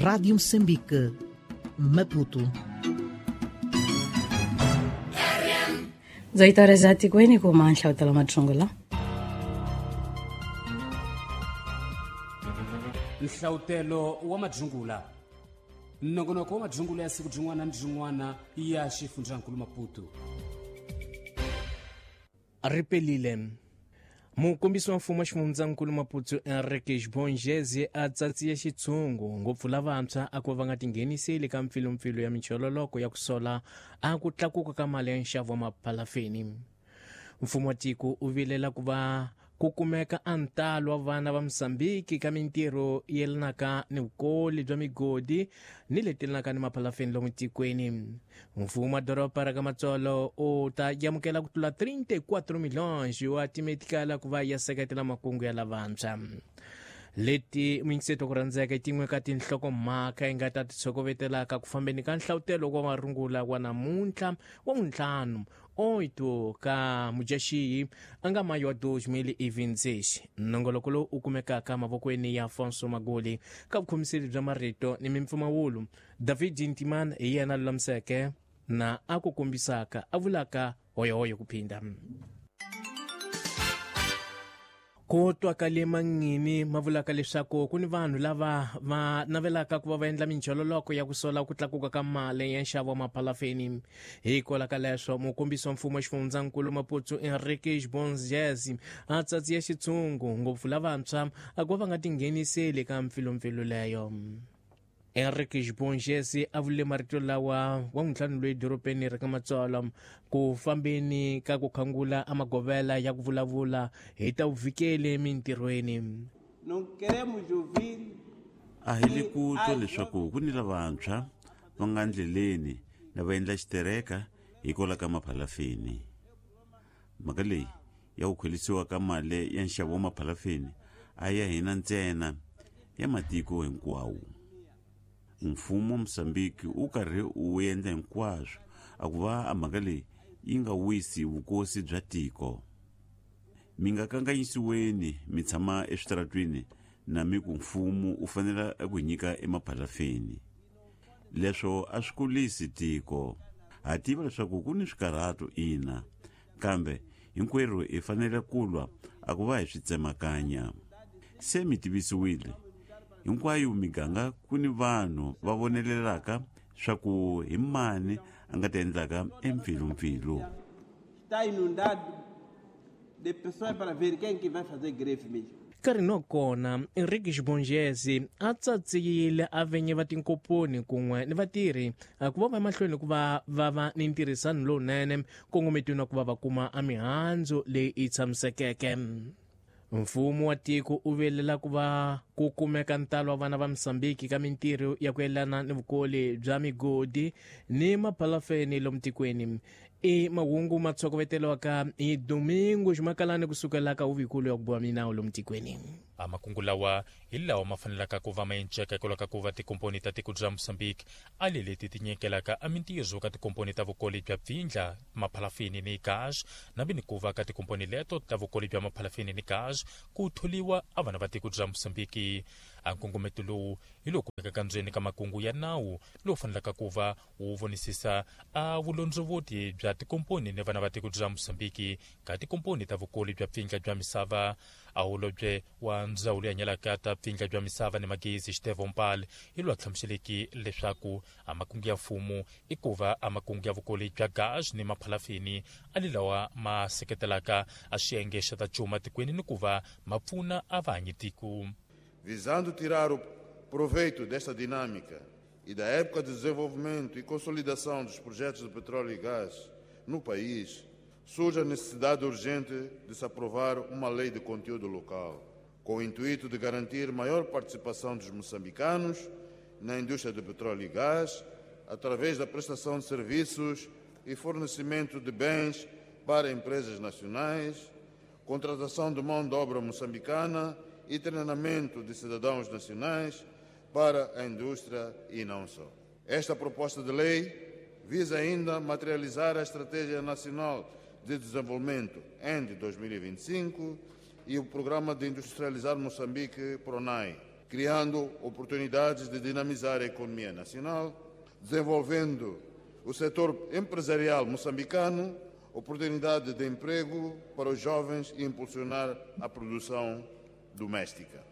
Rádio Moçambique, Maputo. 18 horas atikweni kuma nhlawutelo mathungula. Nhlawutelo wa madzungula, nongonoko wa madzungula ya siku rin'wana ni rin'wana ya xifundzankulu Maputo. Ripelile mukombisi wa mfumo wa xifundzankulu Maputo, Enrique Xibongeze, a tsatsiye xitshungu ngopfu lavantshwa a ku va nga tingheniseli ka mpfilumpfilu ya michololoko ya ku sola a ku tlakuka ka mali ya nxavo wa maphalafeni. Mfumo wa tiko u vilela ku va ku kumeka a ntalo wa vana va Mosambiki ka mintirho yelanaka ni vukoli bya migodi ni leti yelanaka ni maphalafeni lomu tikweni. Mfumo wa doroba ra ka Matsolo u ta amukela ku tlula 34 milhões wa timetikala ku va ya seketela makungu ya lavantshwa. Leti muyingiseto ku rhandzeka i tin'we ka tinhlokomhaka yi nga ta titshokovetelaka ku fambeni ka nhlawutelo wa marungula wa namuntlha wa vuntlhanu 8 ka Mudyaxihi a nga mayi wa 2026. Nongoloko lowu u kumekaka mavokweni ya Afonso Magoli ka vukhomiseli bya marito ni mimpfumawulo. David Ntiman hi yena lulamiseke na a ku kombisaka a vulaka hoyohoyo ku phinda ku twakale mangini ma vulaka leswaku ku ni vanhu lava va navelaka ku va va endla minchololoko ya ku sola ku tlakuka ka mali ya nxavo wa maphalafeni. Hikwalaho ka leswo, mukombisi wa mfumo wa xifundzankulu Maputo, Enrique Xibonjezi, a tsatsiya xitshungu ngopfu lavantshwa a ku va va nga tingheniseli ka mpfilumpfilu leyo. Enrique Xibongesi a vule marito lawa wa ntlhanu loyi dorobeni ra ka Matsolo ku fambeni ka ku khangula a magovela ya ku vulavula hi ta vuvikeli emintirhweni. Não queremos ouvir. A hi le ku twa leswaku ku ni lavantshwa va nga ndleleni na va endla xitereka hikwalaho ka maphalafeni. Mhaka leyi ya ku khwelisiwa ka mali ya nxavo wa maphalafeni a ya hina ntsena, ya matiko hinkwawo. Mfumo wa Mosambiki wu karhi wu endla hinkwaswo a ku va a mhaka leyi yi nga wisi vukosi bya tiko. Mi nga kanganyisiweni mi tshama eswitaratwini na mi ku mfumo wu fanele ku nyika emaphalafeni. Leswo a swi kulisi tiko. Ha tiva leswaku ku ni swikarhato, ina, kambe hinkwerhu hi fanele ku lwa a ku va hi swi tsemakanya. Se mi tivisiwile hinkwayo miganga ku ni vanhu va vonelelaka swa ku hi mani a nga ta endlaka empfilumpfilu. Está inundado de pessoas para ver quem que vai fazer greve mesmo. Nkarhi no kona Enrique Xibongezi a tsatsiyile a venye va tinkomponi kun'we ni vatirhi ku va va emahlweni ku va va va ni ntirhisano lowunene kongometweni wa ku va va kuma a mihandzu leyi yi tshamisekeke. Mfumo wa tiko u vilela ku va ku kumeka ntalo wa vana va Mosambiki ka mintirho ya ku yelana ni vukoli bya migodi ni maphalafeni lomu tikweni. I mahungu ma tshokovetelwaka hi Domingo Ximakalani kusukela ka huvikulu ya ku boha minawu lomu tikweni. A makungu lawa hi lawa ma fanelaka ku va ma enceka hikwalaho ka ku va tikomponi ta tiko bya Mozambique a le leti ti nyikelaka a mintirho ka tikomponi ta vukoli bya pfindla, maphalafini ni gas, na vi ni ku va ka tikomponi leto ta vukoli bya maphalafini ni gas ku tholiwa a vana va tiko bya Mozambique. A nkongometo lowu hi lowu kumekaka ndzeni ka makungu ya nawu lowu fanelaka ku va wu vonisisa a vulondzovoti bya tikomponi ni vana va tiko bya Mozambique ka tikomponi ta vukoli bya pfindla bya misava. A holobye wa ndzawulo ya nyalaka ta pfindla bya misava ni magezi, Xitevo Mpal, hi loyi a hlamuseleki leswaku a makungu ya mfumo i ku va a makungu ya vukoli bya gas ni maphalafini a li lawa ma seketelaka a xiyenge xa ta cuma tikweni ni ku va ma pfuna a vahanyi tiko. Visando tirar o proveito desta dinâmica e da época de desenvolvimento e consolidação dos projetos de petróleo e gás no país, surge a necessidade urgente de se aprovar uma lei de conteúdo local, com o intuito de garantir maior participação dos moçambicanos na indústria de petróleo e gás, através da prestação de serviços e fornecimento de bens para empresas nacionais, contratação de mão de obra moçambicana e treinamento de cidadãos nacionais para a indústria e não só. Esta proposta de lei visa ainda materializar a Estratégia Nacional de Desenvolvimento END 2025 e o Programa de Industrializar Moçambique, PRONAI. criando oportunidades de dinamizar a economia nacional, desenvolvendo o setor empresarial moçambicano, oportunidade de emprego para os jovens e impulsionar a produção doméstica.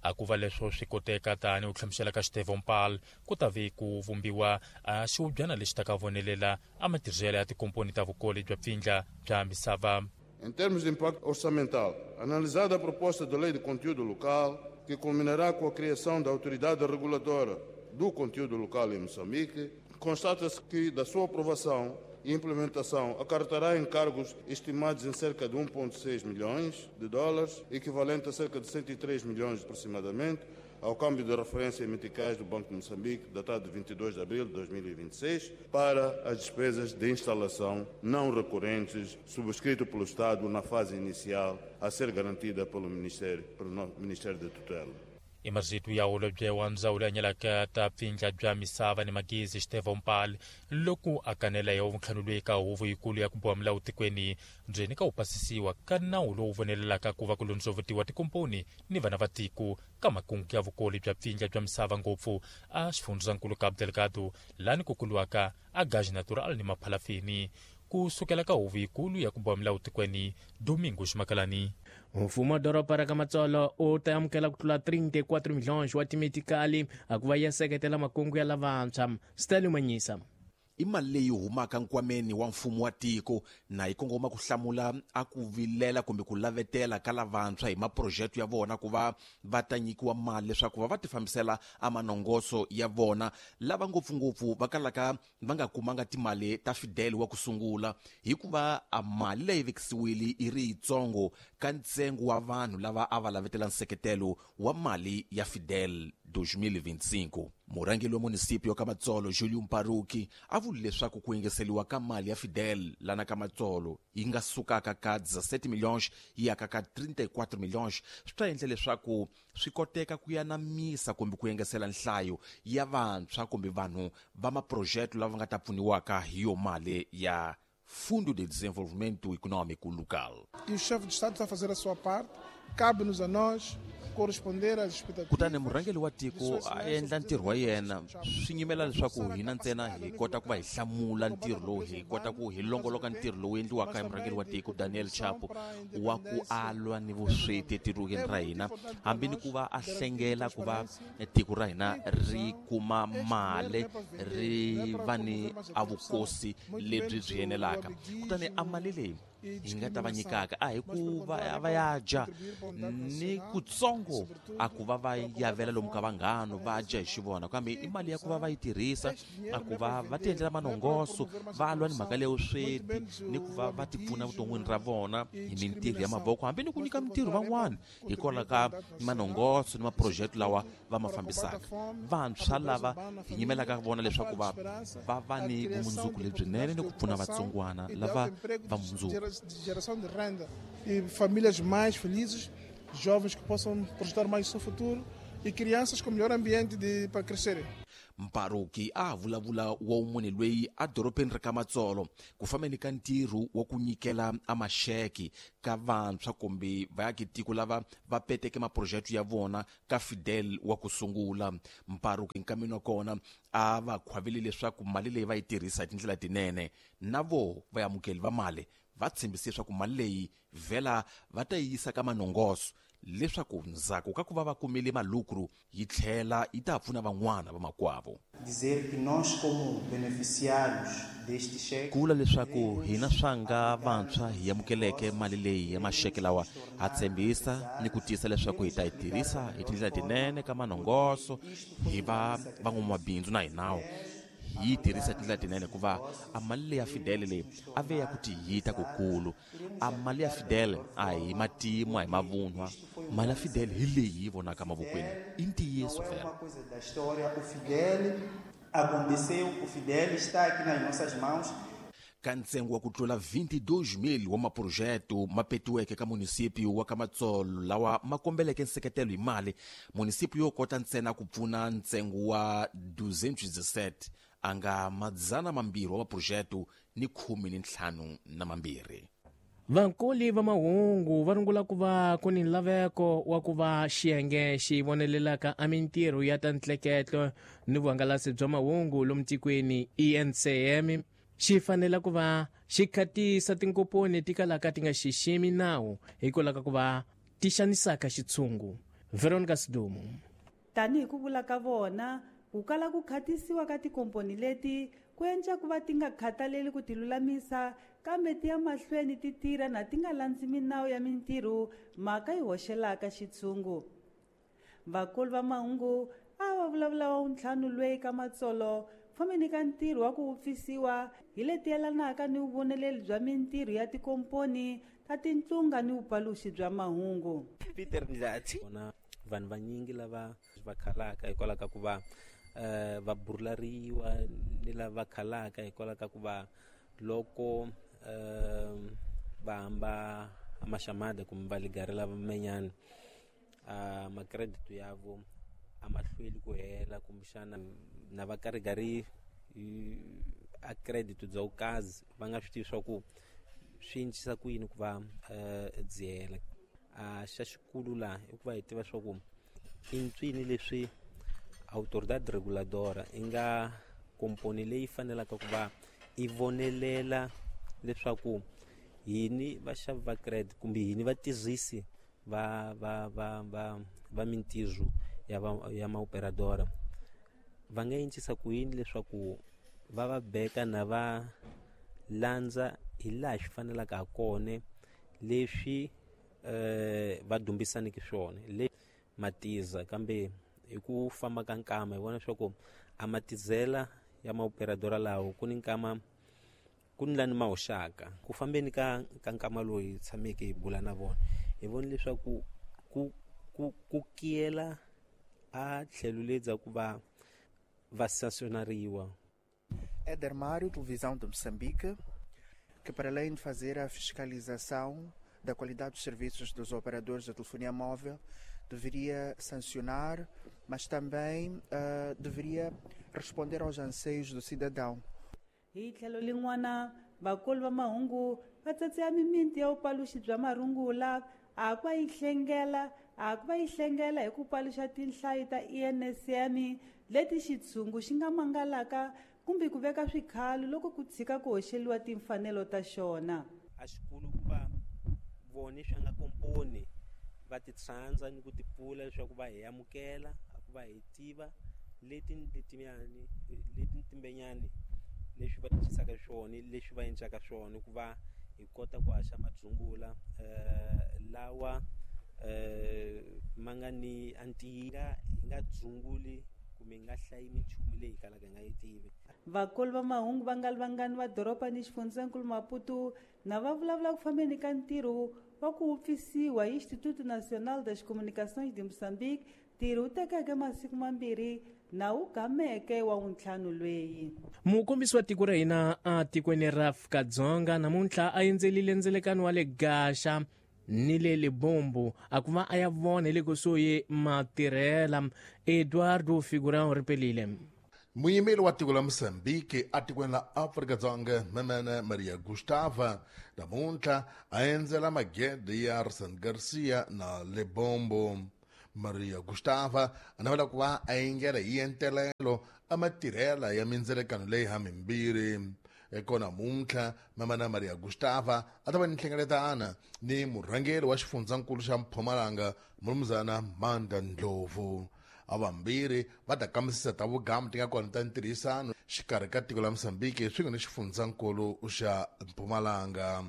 A ku va leswo swi koteka tani u hlamusela ka Stephen Paul ku ta ve ku vumbiwa a xihubyana lexi ta ka vonelela a matirhelo ya tikomponi ta vukoli bya pfindla bya misava. Em termos de impacto orçamental, analisada a proposta de lei de conteúdo local, que culminará com a criação da autoridade reguladora do conteúdo local em Moçambique, constata-se que da sua aprovação e implementação acarretará encargos estimados em cerca de 1,6 milhões de dólares, equivalente a cerca de 103 milhões aproximadamente, ao câmbio de referência em meticais do Banco de Moçambique, datado de 22 de abril de 2026, para as despesas de instalação não recorrentes, subscrito pelo Estado na fase inicial, a ser garantida pelo Ministério de Tutela. I marito ya holobye wa ndzawulo ya nyalaka ta pfindla bya misava ni magezi Stephen Paul loko a kanela ya vuntlhanu loyi ka huvo yikulu ya ku boha milawu tikweni ndzeni ka ku pasisiwa ka nawu lowu vonelelaka ku va ku londzovutiwa tikomponi ni vana va tiko ka makungu ya vukoli bya pfindla bya misava ngopfu a xifundzankulu Cabo Delgado lani ku kuliwaka a gaz natural ni maphalafini. Ku sukela ka huvo yikulu ya ku boha milawu tikweni, Domingo Ximakalani. Mfumo wa doroba ra ka Matsolo u ta amukela ku tlula 34 milhões wa timetikali a ku va ya seketela makungu ya lavantshwa. Stanley Manyisa. I mali leyi humaka nkwameni wa mfumo wa tiko na yi kongoma ku hlamula a ku vilela kumbe ku lavetela ka lavantshwa hi maprojekti ya vona ku va va ta nyikiwa mali leswaku va va ti fambisela a manongoso ya vona, lava ngopfungopfu va kalaka va nga kumanga timali ta Fidel wa ku sungula, hikuva a mali leyi vekisiwile i ri yitsongo ka ntsengo wa vanhu lava a va lavetela nseketelo wa mali ya Fidel 2025. Murhangeri wa munisipio ka Matsolo Julio Mparuki a vule leswaku ku engeseliwa ka mali ya Fidel lana ka Matsolo yi nga sukaka ka 17 milhões yi yaka ka 34 milhões swi ta endla leswaku swi koteka ku yanamisa kumbe ku engesela nhlayo ya vantshwa kumbe vanhu va maprojekti lava nga ta pfuniwaka hi yo mali ya Fundo de Desenvolvimento Econômico Local. E o chefe de Estado está a fazer a sua parte, cabe-nos a nós corresponder às expectativas. Kutani murhangeri wa tiko a endla ntirho wa yena, swi nyimela leswaku hina ntsena hi kota ku va hi hlamula ntirho lowu, hi kota ku hi longoloka ntirho lowu endliwaka hi murhangeri wa tiko Daniel Chapo wa ku alwa ni vusweti etikweni ra hina, hambi ni ku va a hlengela ku va tiko ra hina ri kuma mali ri va ni a vukosi lebyi byi enelaka. Kutani a mali leyi hi nga ta va nyikaka a hi ku va ya dya ni kutsongo a ku va va yavela lomu ka vanghano va dya hi xivona, kambe i mali ya ku va va yi tirhisa a ku va va ti endlela manongoso, va lwa ni mhaka leyo sweti ni ku va va ti pfuna vuton'wini ra vona hi mintirho ya mavoko, hambi ni ku nyika mintirho van'wana hikwalaho ka manongoso ni maprojekti lawa va ma fambisaka. Vantshwa lava hi nyimelaka vona leswaku va va va ni vumundzuku lebyinene ni ku pfuna vatsongwana lava va mundzuku. De geração de renda e famílias mais felizes, jovens que possam projetar mais o seu futuro e crianças com melhor ambiente para crescerem. Mparuki a vulavula wa munhu loyi a dorobeni ra ka Matsolo ku fambeni ka ntirho wa ku nyikela a maxeke ka vantshwa kumbe vaakitiko lava va peteke maprojekti ya vona ka Fidel wa ku sungula. Mparuki nkameni wa kona a va khwavile leswaku mali leyi va yi tirhisa hi tindlela tinene, na vo vaamukeli va mali va tshembise leswaku mali leyi vhela va ta yi yisa ka manongoso leswaku ndzhaku ka ku va va kumile malukru yi tlhela yi ta pfuna van'wana va makwavo. Dizer que nós como beneficiários deste cheque, ku vula leswaku hina swanga vantshwa hi amukeleke mali leyi ya maxeke lawa, ha tshembisa ni ku tiyisa leswaku hi ta yi tirhisa hi tindlela tinene ka manongoso, hi va van'wamabindzu na hinawo hi yi tirhisa tindlela tinene, hikuva a mali leyi ya Fidel leyi a ve ya ku tiyita kukulu. A mali ya Fidel a hi matimu, a hi mavunwa. Mali ya Fidel hi leyi yi vonaka mavokweni, i ntiyiso vhela. O Fidel aconteceu, o Fidel está aqui nas nossas mãos. Ka ntsengo wa ku tlula 22,000 wa maprojekti ma petiweke ka munisipio wa ka Matsolo lawa ma kombeleke nseketelo hi mali, munisipio yo kota ntsena ku pfuna ntsengo wa 217 a nga 200 wa maprojekti ni 15 na mambirhi. Vankuli va mahungu va rungula ku va ku ni nlaveko wa ku va xiyenge xi vonelelaka a mintirho ya ta ntleketlo ni vuhangalasi bya mahungu lomu tikweni ENCM xi fanela ku va xi khatisa tinkomponi ti kalaka ti nga xiximi nawu hikwalaho ka ku va ti xanisaka xitshungu. Veronica Sidumo. Tanihi ku vula ka vona, ku kala ku khatisiwa ka tikomponi leti ku endla ku va ti nga khathaleli ku ti lulamisa kambe ti ya mahlweni ti tirha na ti nga landzi minawu ya mintirho mhaka yi hoxelaka xitshungu. Vakulu va mahungu a va vulavula wa wuntlhanu lweyi ka matsolo fambeni ka ntirho wa ku wupfisiwa hi leti yelanaka ni vuvoneleli bya mintirho ya tikomponi ta tintlunga ni vupaluxi bya mahungu. Peter Ndlathi na vanhu vanyingi lava va khalaka hikwalaho ka ku va va burulariwa ni lava khalaka hikwalaho ka ku va loko va hamba maxamada kumbe va ligarela menyana macredit yavo a ma hlweli ku hela kumbexana na va karigari a credit bya vukazi va nga swi tivi swa ku swi encisa ku yini ku va byi hela. A xa xikulu laha i ku va hi tiva swa ku i ntswini leswi autoridade reguladora i nga komponi leyi fanelaka ku va i vonelela leswaku hini vaxavi va credit kumbe hini vatirhisi va va va va va mintirho ya va ya maoperadora va nga encisa ku yini leswaku va va beka na va landza hi laha swi fanelaka ha kona leswi va dumbisaneke swona le matiza kambe hi ku famba ka nkama hi vona leswaku a matizela ya maoperadora lawo ku ni nkama ku ni lani ma hoxaka ku fambeni ka ka nkama lowu hi tshameke hi bula na vona hi vona leswaku ku ku ku kiyela a tlhelo ledza ku va va sancionariwa. Éder Mário, Televisão de Moçambique, que para além de fazer a fiscalização da qualidade dos serviços dos operadores de telefonia móvel, deveria sancionar, mas também deveria responder aos anseios do cidadão. Hi tlhelo lin'wana vakulu va mahungu va tsatsiya mimiti ya vupaluxi bya marungula a ku va yi hlengela a ku va yi hlengela hi ku paluxa tinhlayo ta ENSM leti xitshungu xi nga mangalaka kumbe ku veka swikhalo loko ku tshika ku hoxeliwa timfanelo ta xona. A xikulu ku va vone swi nga komponi va ti tshandza ni ku ti pfula leswaku va hi amukela a ku va hi tiva leti letiyani leti timbenyani leswi va tirhisaka swona leswi va endlaka swona ku va hi kota ku haxa madzungula lawa ma nga ni antiya hi nga dzunguli kumbe hi nga hlayi minchumu leyi kalaka hi nga yi tivi. Vakulu va mahungu va nga vangani va doroba ni xifundzankulu Maputo na va vulavula ku fambeni ka ntirho wa ku wupfisiwa hi Instituto Nacional das Comunicações de Moçambique ntirho wu tekeke masiku mambirhi na wu gameke wa wuntlhanu lweyi. Mukombisi wa tiko ra hina a tikweni ra Afrika-Dzonga namuntlha a endzelile ndzelekano wa le Gaxa ni le Lebombo a ku va a ya vona hi le kusuhi matirhela. Eduardo Figurão ripelile. Muyimeli wa tiko la Mozambique atikweni la Afrika-Dzonga Memene Maria Gustava namuntlha a endzela magede ya Arsen Garcia na Lebombo. Maria Gustava a navela ku va a engela hi entelelo a matirhela ya mindzelekano leyi ha mimbirhi. Eko namuntlha Memene Maria Gustava a ta va ni nhlengeletana ni murhangeri wa xifundzankulu xa Mpumalanga Mnumzana Manda Ndlovu. Avambirhi va ta kambisisa ta vugamu ti nga kona ta ntirhisano xikarhi ka tiko la Mozambique swin'we ni xifundzankulu xa Mpumalanga.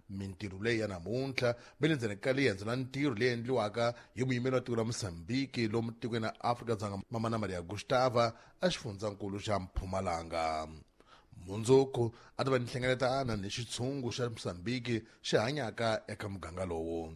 Mintirho leyi ya namuntlha va le ndzeni ka liendzo la ntirho leyi endliwaka hi muyimeri wa tiko la Mozambique lomu tikweni ra Afrika-Dzonga Mamana Maria Gustava a xifundzankulu xa Mpumalanga. Mundzuku a ta va ni nhlengeletana ni xitshungu xa Mozambique xi hanyaka eka muganga lowu.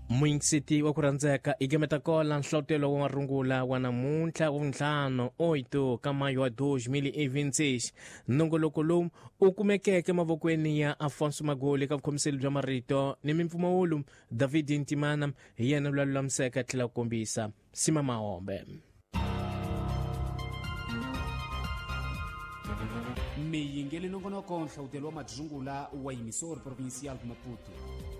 Muyingiseti wa ku rhandzeka i gemeta kola nhlotelo wa marungula wa namuntlha wa vuntlhanu 8 ka mayo wa 2026. Nongoloko lowu u kumekeke mavokweni ya Afonso Magoli ka vukhomiseli bya marito ni mimpfumawulo David Ntimana hi yena loyi a lulamiseka a tlhela ku kombisa Sima Mahombe. Miyingeli nongonoko nhlawutelo wa madzungula wa Emissor Provincial de Maputo.